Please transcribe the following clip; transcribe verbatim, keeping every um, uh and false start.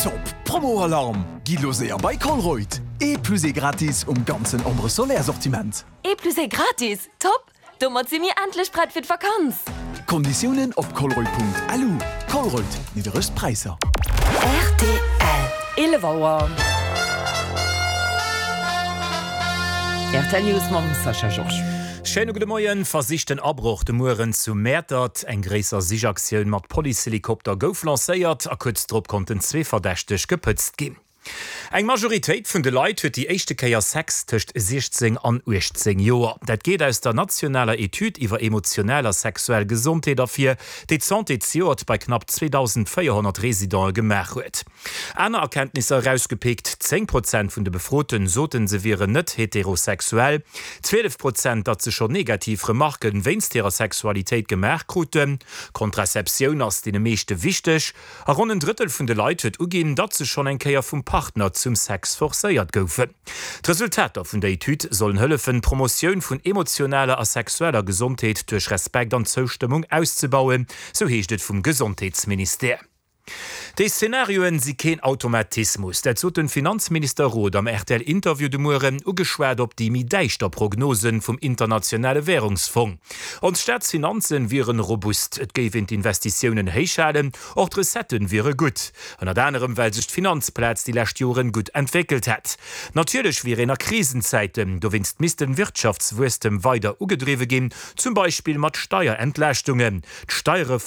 Top Promo-Alarm! Gitt lo séier bei Colruyt! Ee plus ee gratis um ganzen Ambre Solaire Sortiment. Ee plus ee gratis? Top! Domat si mir endlech prett fir d'Vakanz! Konditiounen op colruyt.lu. Colruyt, nidderegst Präisser. Rtl. Eelef Auer. Rtl News mam Sascha Georges. Schéine gudde Moien. Versichten Abroch de Mueren zu Mäertert. Eng gréisser Sichaktioun mat Policehelikopter gouf lancéiert a kuerz drop konnten zwee Verdächteg gepëtzt ginn. Eng Majoritéit vun de Leit huet déi éischte Kéier Sex tëscht siechzéng an uechtzéng Joer. Dat geet aus der nationaler Etüd iwwer emotional a sexuell Gesondheet ervir, déi d'Santé zejoert bei knapp zweedausendvéierhonnert Residente gemaach huet. Aner Erkenntnisser erausgepickt, Zéng Prozent vun de Befroten soten, se wieren net heterosexuell, zwielef Prozent, datt se schonn negativ Remarken wéinst hirer Sexualitéit gemaach kruten, Kontrazeptioun ass deene meeschte wichteg a ronn en Drëttel vun de Leit huet uginn, datt se schonn eng Kéier vum Partner zum Sex forcéiert goufen. D'Resultater vun der Etüd sollen hëllefen, d'Promotioun vun emotionaler a sexueller Gesondheet duerch Respekt an Zoustëmmung auszebauen, sou heescht et vum Gesondheetsministère. Déi Szenarioen si keen Automatismus. Dat sot den Finanzminister Roth am R T L-Interview de Mueren, ugeschwat op déi méi däischter Prognosen vum Internationale Währungsfong. Ons Staatsfinanzen wieren robust, et géif een d'Investitiounen héich halen, och d'Recetten wiere gutt. Ënnert anerem well sech d'Finanzplaz déi lescht Joren gutt entwéckelt hätt. Natierlech wier een a Krisenzäiten, dowéinst misst de Wirtschaftswuesstem weider ugedriwwe ginn, zum Beispill mat Steierentlaaschtungen. D'Steierreform